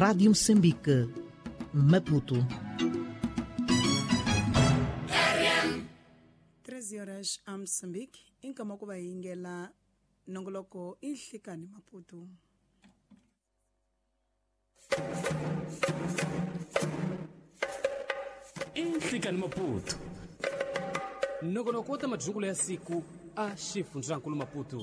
Rádio Moçambique, Maputo. 13 horas a Moçambique, inkama ku va yingela nongoloko inhlikani Maputo. Inhlikani Maputo. Nongonoko wa ta madyukulo ya siku a xifundzankulu Maputo.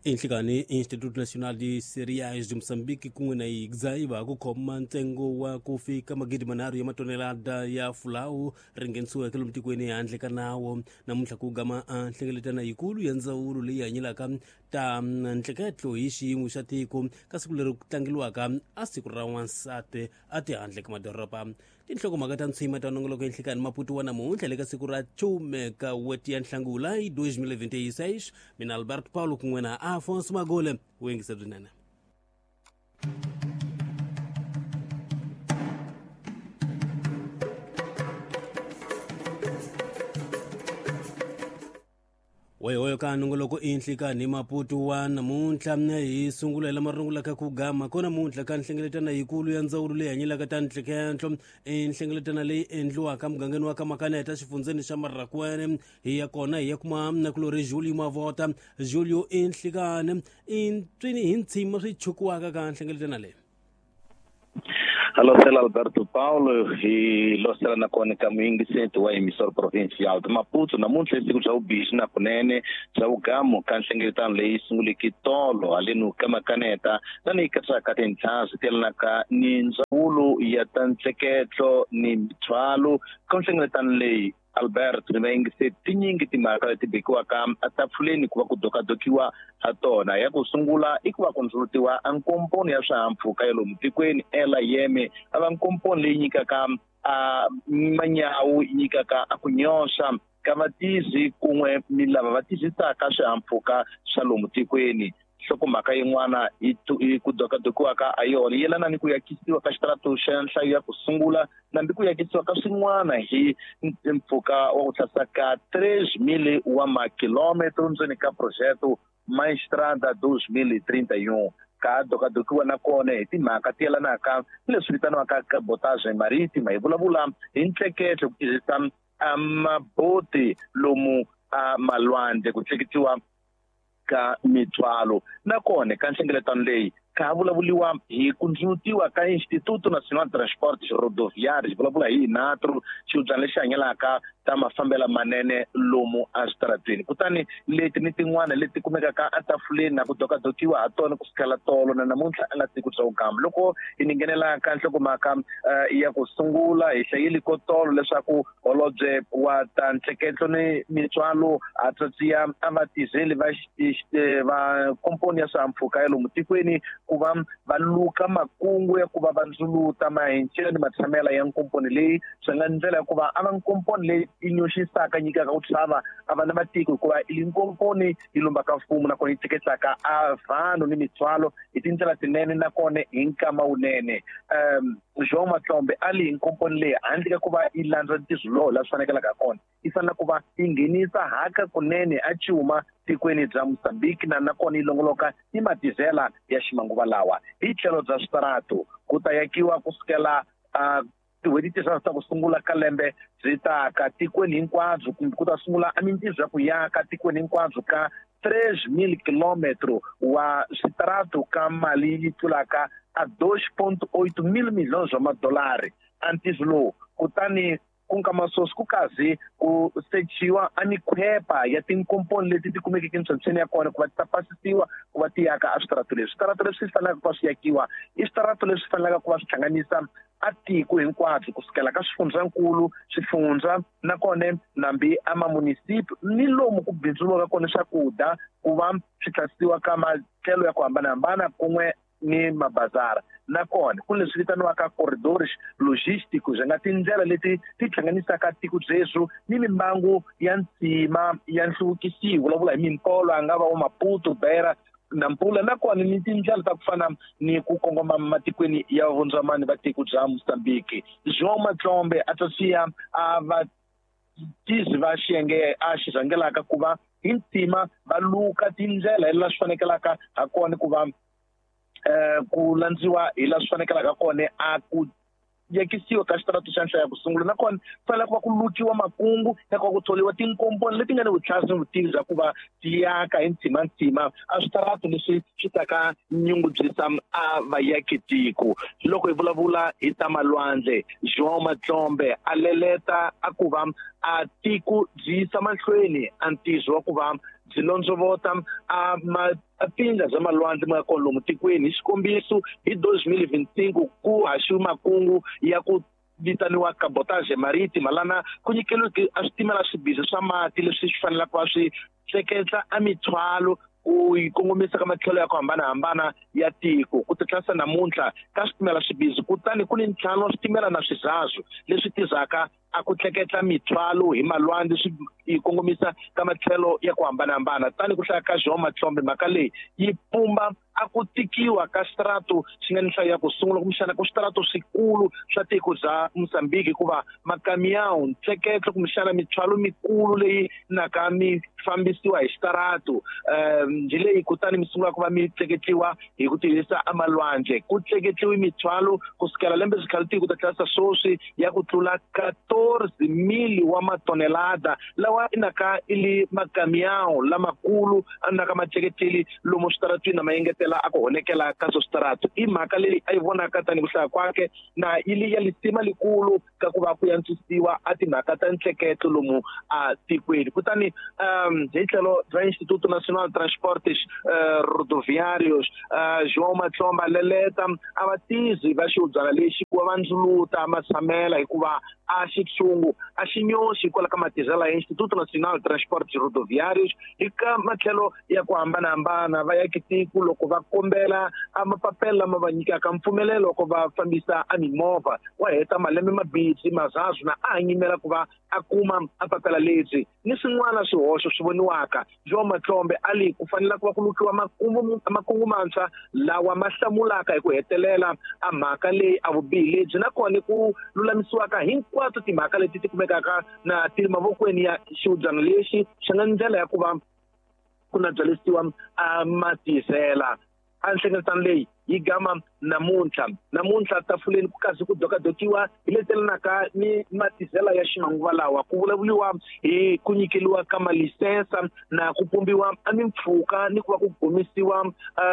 Inhlikani Instituto Nacional de Cereais de Moçambique kun'we na IGZAI ku khoma ntsengo wa ku fika 3,000 ya matonelada ya fulawu ri nghenisiweke lomu tikweni handle ka nawu. Namuntlha ku gama a nhlengeletano yikulu ya ndzawulo leyi hanyelaka ta ntleketlo hi xiyimo xa tiko ka siku leri ku tlangeliwaka a siku ra wansati a tihandle ka madoroba. Tinhlokomhaka ta ntshima ta nongoloko enhlikani Maputo wa namuntlha le ka siku ra 10 ka weti ya Nhlangula hi 2026. Mina Alberto Paulo kun'we na Afonso Magole u yingisa byinene. Weyoyo ka nongoloko inhlikani Maputo wa namuntlha hi sungula hi lama rungulaka ku gama ko namuntlha ka nhlengeletano yikulu ya ndzawulo leyi hanyelaka ta ntlekentlo. I nhlengeletano leyi endliwaka mugangeni wa ka Makaneta xifundzeni xa Marrakwene. Hi ya kona hi ya kuma nakulorhi Julio Mavota. Julio, inhlikani i ntswini hi ntshima swi chukiwaka ka nhlengeletano leyi? Losela Alberto Paulo hi losela nakona ka muyingiseti wa emissor provincial de Maputo. Namuntlha i siku bya vubihi na kunene bya vugamu ka nhlengeletano leyi sunguleke tolo haleni ka Makaneta lani yi katsaka tintlha swi telanaka ni ndzawulo ya ta ntleketlo ni mithwalo. Ka nhlengeletano leyi Albert ni vayingiseti tinyingi timhaka leti bekiwaka etafuleni ku va ku dokadokiwa ha tona. Ya ku sungula i ku va ku ndzulutiwa a nkomponi ya swihahampfhuka ya lomu tikweni Air a va nkomponi leyi nyikaka a manyawu, yi nyikaka a ku nyoxa ka vatizi kun'we ni lava va tizisaka swihahampfhuka swa lomu tikweni. Nhlokomhaka yin'wana i ku dokadokiwaka a yona yelana ni ku yakisiwa ka xitarato xa nhlayo ya ku sungula nambi ku yakisiwa ka swin'wana hi mpfhuka wa ku tlhasa ka 3,000 wa makilometro ndzeni ka projeto Maestrada 2031. Ka dokadokiwa na kona hi timhaka ti yelanaka ni leswi vitaniwaka cabotage marítima. Hi vulavula hi ntleketlo ku tirhisa maboti lomu a malwandle ku tleketiwa ka mithwalo. Nakona ka nhlengeletano leyi ka vulavuliwa hi ku ndzulutiwa ka Instituto Nacional de Transportes Rodoviários, vulavula hi INATRO, xihubyana lexi hanyelaka ta mafambelo manene lomu eswitarateni. Kutani leti ni tin'wana leti kumekaka etafuleni na ku dokadokiwa ha tona ku sukela tolo na namuntlha a nga siku bya vugamba. Loko hi ni nghenela ka nhlokomhaka ya ku sungula, hi hlayeli ko tolo leswaku holobye wa ta ntleketlo ni mitswalo a tsatsiya a va tirheli va va komponi ya swihahampfhuka ya lomu tikweni ku va va luka makungu ya ku va va ndzuluta mahencelo ni matshamela ya nkomponi leyi swi nga ndlela ya ku va a va nkomponi leyi yi nyoxisaka nyikaka ku chava a va na matiko, hikuva i nkomponi yi lombaka mfumo nakona yi tleketlaka a vanhu ni mitswalo hi tindlela tinene nakona hi nkama wunene. João Matlombe a li hi nkomponi leyi handle ka ku va yi landza ntirho lowu la swi fanekelaka kona, yi fanele ku va yi nghenisa haka kunene a cuma tikweni bya Mozambique na nakona yi longoloka ni madizela ya ximanguva lawa. Hi tlhelo bya switarato ku ta yakiwa ku sukela tin'hweti tinharhu ta ku sungula ka lembe byi taka tikweni hinkwabyo, kumbe ku ta sungula a mintirho ya ku yaka tikweni hinkwabyo ka 3,000 kilometro wa switarato ka mali yi tlulaka a 2.8 mil milhões wa madolari a ntirho lowu. Kutani ku nga masosi ku kazi ku sechiwa a mikhwepa ya tinkomponi leti ti kumekeke ntshwentshweni ya kona ku va ti ta pasisiwa ku va ti yaka a switarato leswi. Switarato leswi fanelaka ku va swi yakiwa i switarato leswi fanelaka ku va swi hlanganisa a tiko hinkwabyo kusukela ka swifundzankulu, swifundza nakona nambi a mamunisipi ni lomu ku bindzuriwaka kona swakudya ku va swi tlhasisiwa ka matlhelo ya ku hambanahambana kun'we ni mabazara. Nakona ku leswi vitaniwaka corridors logísticos, nga tindlela leti ti hlanganisaka tiko byeswo ni mimbangu ya ntsima ya nhluvukisiwa, vulavula hi mimpolo a nga va wa Maputo, Beira, Nampula, nakona ni tindlela ta ku fana ni ku kongoma matikweni ya vundzwamani va tiko bya Mozambique. João Matlombe a ta siya a va tizi va xiyenge a xi rhangelaka ku va hi ntima va luka tindlela hi laha swi fanekelaka ha kona ku va ku landziwa hi laha swi fanekelaka kona a ku yekisiwa ka xitaratu xa nhlaya ku sungula nakona fanele ku va ku lukiwa makungu ya ku va ku thoriwa tinkomponi leti nga ni vutlhari ni vutivi bya ku va ti aka hi ntsimantsima a switaratu leswi swi taka nyungubyisa a vayakitiko. Loko hi vulavula hi ta malwandle, João Matlombe a leleta a ku va a tiko byi yisa mahlweni a ntirho wa ku va byi londzovota a tindla bya malwandle ma nga kona lomu tikweni. Hi xikombiso, hi 2025 ku haxiwe makungu ya ku vitaniwa cabotage marítima, lana ku nyikeliweke a switimela swibizi swa mati leswi swi fanelaka va swi tleketla a mithwalo ku yi kongomisa ka matlhelo ya ku hambanahambana ya tiko. Ku titlasa namuntlha ka switimela swibizi, kutani ku ni ntlhanu wa switimela na swizazu leswi tirhaka a ku tleketla mithwalo hi malwandle swi yi kongomisa ka matlhelo ya ku hambanahambana. Tani ku hlaya ka João Matlombe, mhaka leyi yi pumba a ku tikiwa ka xitaratu xi nga ni nhlayo ya ku sungula kumbexana ku switaratu swikulu swa tiko bya Mozambique, hikuva makamiyawu ntleketlo kumbexana mithwalo mikulu leyi naka mi fambisiwa hi xitaratu njhe leyi, kutani mi sungula ku va mi tleketliwa hi ku tirhisa amalwandle. Ku tleketliwe mithwalo kusukela lembe xikhale tiko ta tlasa sweswi ya ku tlula 14,000 wa matonelada lawa inaka ili makamiyawu lamakulu anaka ma tleketeli lomu switaratwini na mayengetela a ku honekela ka swo switaratu. I mhaka leyi a yi vonaka tanihi ku hlaya kwake na yi ya lisima likulu ka ku va ku yantswisiwa a timhaka ta ntleketlo lomu a tikweni. Kutani hi tlhelo ra Instituto Nacional de Transportes Rodoviários, João Matlomba leleta a va tizi va xiubyana lexi ku va va ndzuluta matshamela, hikuva a xitshungu a xi nyoxi hikwalaho ka matirhelo ya Instituto Nacional de Transportes Rodoviários hi ka matlhelo ya ku hambanahambana. Va yaki tiko loko va kombela a mapapela lama va nyikaka mpfumelelo ku va fambisa a mimovha, wa heta malembe mabisi mazazu na a hanyimela ku va a kuma a papela lebyi ni swin'wana swihoxo swi voniwaka. João Matlombe a li ku fanele ku va ku lukiwa makungu mantshwa lawa ma hlamulaka hi ku hetelela a mhaka leyi a vubihi lebyi, nakona ku lulamisiwaka hinkwato timhaka leti ti kumekaka na ti ri mavokweni ya xiubyana lexi xi nga ndlela ya ku va ku na byalisiwa a matizela. A nhlengeletano leyi yi gama namuntlha tafuleni ku kasi ku dokadokiwa hi letelanaka ni matizela ya ximanguva lawa, ku vulavuriwa hi ku nyikeliwa ka malisensa na ku pumbiwa a mimpfhuka ni ku va ku gomisiwa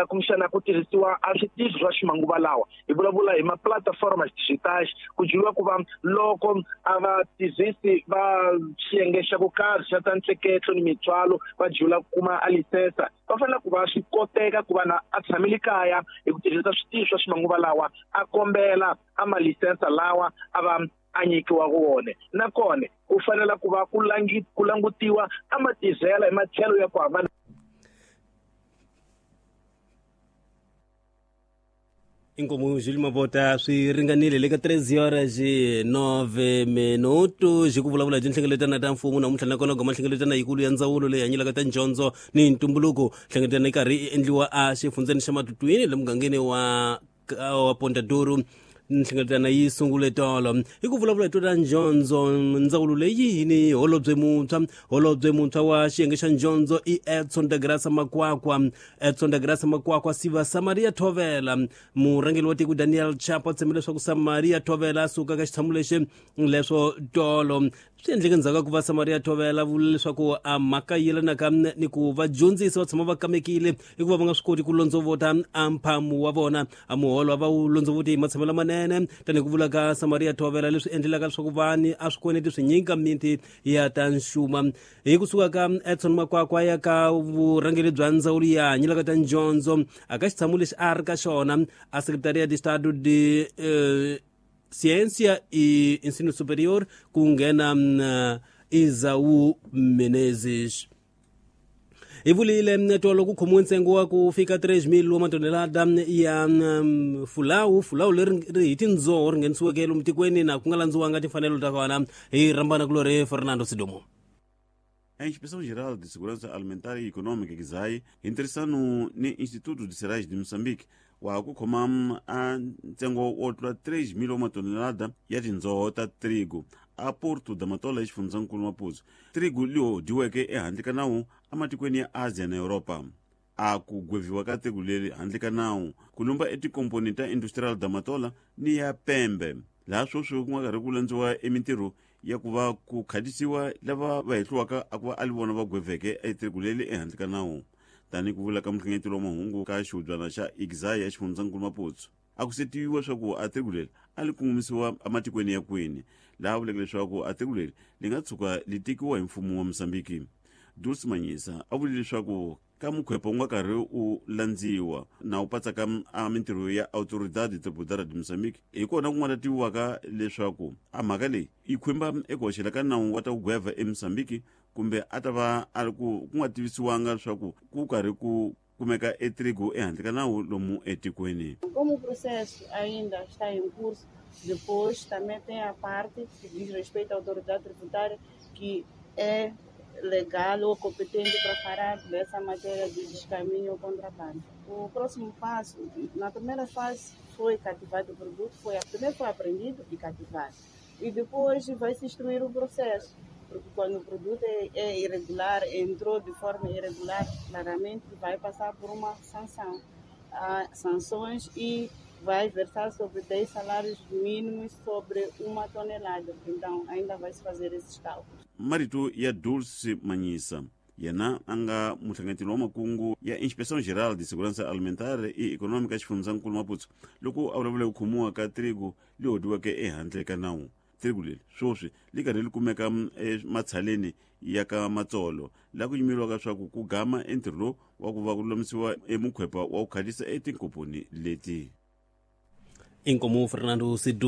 kumbexana ku tirhisiwa a switichi swa ximanguva lawa. Hi vulavula hi ma-platform digital, ku dyiwa ku va loko a va tirhisi va xiyenge xa ku karhi xa ta ntleketlo ni mithwalo va dyiwela ku kuma a lisensa, va fanele ku va swi koteka ku va na a tshamile kaya hi ku tirhisa switichi swa ximanguva lawa a kombela a malisensa lawa a va a nyikiwa wona. Nakona ku fanele ku va ku langutiwa a matizela hi matlhelo ya ku hambana. Inkomu Júlio Mabota swi ringanile le ka 3:09 minuto xi ku vulavula hi tinhlengeletano ta mfumo namuntlha, nakona goma nhlengeletano yikulu ya ndzawulo leyi hanyelaka ta ndyondzo ni ntumbuluko. Nhlengeletano yi karhi yi endliwa a xifundzeni xa Matutwini le mugangeni wa Ponta Duro. Nhlengeletano yi sungule tolo hi ku vulavula hi to ta ndyondzo. Ndzawulo leyi ni holobye muntshwa wa xiyenge xa ndyondzo i Edson da Graça Makwakwa. Edson da Graça Makwakwa siva Samaria Thovela. Murhangeri wa tiko Daniel Chapo tshembe leswaku Samaria Thovela a suka ka xitshamo lexi leswo tolo swi endleke ndzhaku ka ku va Samaria Thovela vula leswaku a mhaka yelanaka ni ku vadyondzisi va tshama va kamekile hikuva va nga swi koti ku londzovota a mphamu wa vona, a muholo a va wu londzovoti hi matshamelo lamanene tanihi ku vula ka Samaria Thovela, leswi endlelaka leswaku vani a swikweleti swi nyika miti ya ta nxuma. Hi kusuka ka Edson Makwakwa ya ka vurhangeri bya ndzawulo ya hanyelaka ta ndyondzo a ka xitshamo lexi a ri ka xona a Secretaria de Estado de Ciência e Ensino Superior ku nghena Isaú Menezes. Hi vulile tolo ku khomiwe ntsengo wa ku fika 3,000 wa matonelada ya fulawu leri hi tindzoho ri nghenisiweke lomu tikweni na ku nga landziwanga timfanelo ta kona. Hi rhambana kulori Fernando Sidomo. A Inspeção-Geral de Segurança Alimentar e Econômica, GISAI, intirhisano ni Instituto de Cereais de Moçambique, wa ku khoma a ntsengo wo tlula 3,000 wa matonelada ya tindzoho ta trigo. A Porto da Matola exifundzhankulu Maputo, trigu leyi dyiweke ehandle ka nawu ematikweni ya Asia na Europa. A ku gweviwa ka trigu leri handle ka nawu ku lumba etikomponi ta Industrial da Matola ni ya Pembe, laha sweswi ku nga karhi ku landziwa emintirho ya ku va ku khatisiwa lava va hehliwaka a ku va a li vona va gweveke etrigu leri ehandle ka nawu. Tanihi ku vula ka muhlengeteli wa mahungu ka xihubyana xa Igzai ya xifundzhankulu Maputo, a ku se tiviwa swa ku a trigu leri a li kongomisiwa ematikweni ya kwini, laha vuleke leswaku a trigu leri li nga tshuka li tekiwa hi mfumo wa Mozambiki. Dulce Manyisa a vule leswaku ka mukhwepa wu nga karhi u landziwa na wu patsaka a mintirho ya Autoridade Tributária de Moçambique, hi kona ku nga ta tiviwaka leswaku a mhaka leyi yi khumba eku hoxela ka nawu wa ta ku gweva eMozambiki, kumbe a ta va a ri ku ku nga tivisiwanga leswaku ku karhi ku kumeka etrigo ehandle ka nawu lomu etikweni. Como o processo ainda está em curso, depois também tem a parte que diz respeito à autoridade tributária, que é legal ou competente para falar dessa matéria de descaminho ou contrabando. O próximo passo, na primeira fase foi cativado o produto, primeiro foi apreendido e cativado. E depois vai se instruir o processo, porque quando o produto é irregular, entrou de forma irregular, claramente vai passar por uma sanção. Há sanções e vai versar sobre 10 salários mínimos sobre uma tonelada. Então, ainda vai se fazer esses cálculos. Marito ya Dulce Manyisa, yena a nga muhlanganeteli wa makungu ya Inspeção Geral de Segurança Alimentar e Econômica xifundzankulu Maputo, loko a vulavula ku khomiwa ka trigu leyi hodiweke ehandle ka nawu. Trigu leri sweswi li karhi li kumeka ematshaleni ya ka Matsolo, laha ku yimeriwaka swa ku ku gama entirho lowu wa ku va ku lulamisiwa emukhwepa wa ku khalisa etinkomponi leti. Inkomu Fernando Sidu.